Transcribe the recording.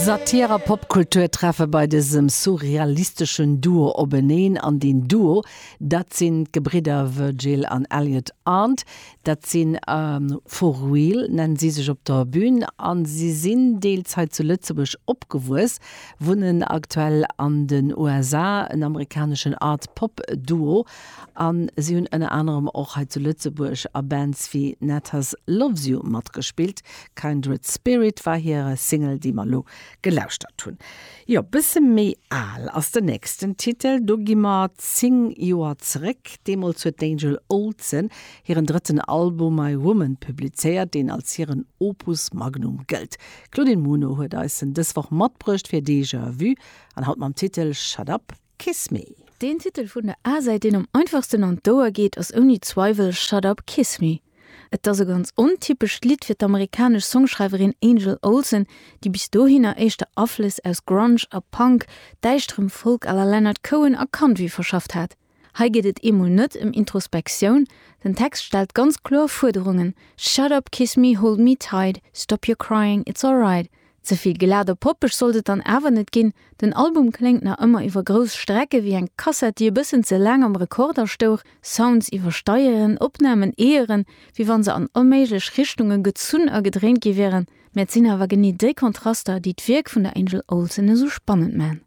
Satir a Popkultur treffe bei dësem surrealisteschen Duo openeen. An deen Duo, dat sinn d'Gebridder Virgil an Elliot Arndt. Dat sinn For Real, nennen si sech op der Bün. A si sinn deels hei zu Lëtzebuerg opgewuess, wunnen aktuell an den USA, en amerikaneschen Art-Pop-Duo. A si hunn ënner anerem och hei zu Lëtzebuerg a Bands wéi Natas Loves You matgespillt. Kindred Spirit war hir Single, déi mer elo gelauschtert hunn. Jo, bësse méi al ass den nächsten Titel. Do gi mer 10 Joer zeréck. Deemools huet d'Angel Olsen hiren drëtten Album My Woman publizéiert, deen als hiren Opus Magnum gëllt. D'Claudine Muno huet eis en dës Woch matbruecht fir Déjà Vu an haut mam Titel Shut Up, Kiss Me. Deen Titel vun der A-Säit, deen am einfachsten an d'Ouer geet, ass ouni Zweiwel Shut Up, Kiss Me. Et ass e ganz ontypescht Lidd fir d'amerikanesch Songschreiwerin Angel Olsen, déi bis dohinner éischter Aflëss aus Grunge a Punk, däischterem Folk à la Leonard Cohen a Country verschafft hat. Hei geet et eemol net ëm Introspektioun, den Text stellt ganz kloer Fuerderungen, Shut up, kiss me, hold me tight, stop your crying, it's alright. Ze vill glat a poppeg sollt et dann awer net ginn, den Album kléngt nach ëmmer iwwer grouss Strecke wéi eng Kassett, déi e bëssen ze laang am Rekorder stouch, Sounds iwwersteieren, Opnamen eeëren, wéi wann se an onméiglech Richtunge gezunn a gedréint gi wieren. Mä et sinn awer genee déi Kontraster, déi d'Wierk vun der Angel Olsen esou spannend man.